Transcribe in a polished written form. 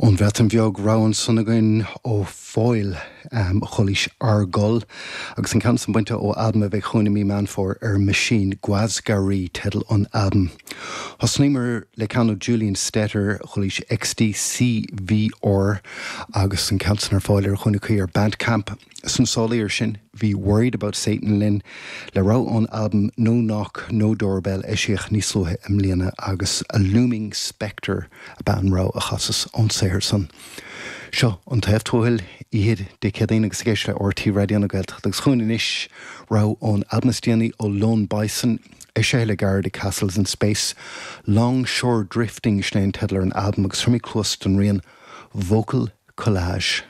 Ón Bhreatain Bheag, rogha ansan againn ó Foil, Chulaois Argol, agus an ceann san bainte ó albam a bheidh chugainn i mí Meán Fómhair ar Machine, Gwasgari teideal an albaim. Thosnaíomar le ceann ó Julian Stetter, Chulaois XDCVR, agus an ceann san ar fáil ar dhuine cuí ar Bandcamp. Sna sála iar sin, bhí Worried About Satan linn le rogha ón albam No Knock, No Doorbell a eisíodh níos luaithe i mbliana agus A Looming Spectre ab ea an rogha a chasas ón saothar san. Seo An Taobh Tuathail, oíche Dé Céadaoin agus ag éisteacht le RTÉ Raidió na Gaeltachta agus chugainn anois rogha ón albam is déanaí ó Lone Bison, eisithe le gairid ag Castles in Space, Longshore Drifting sin é an teideal ar an albam agus tabharfaimid cluas don rian Vocal Collage.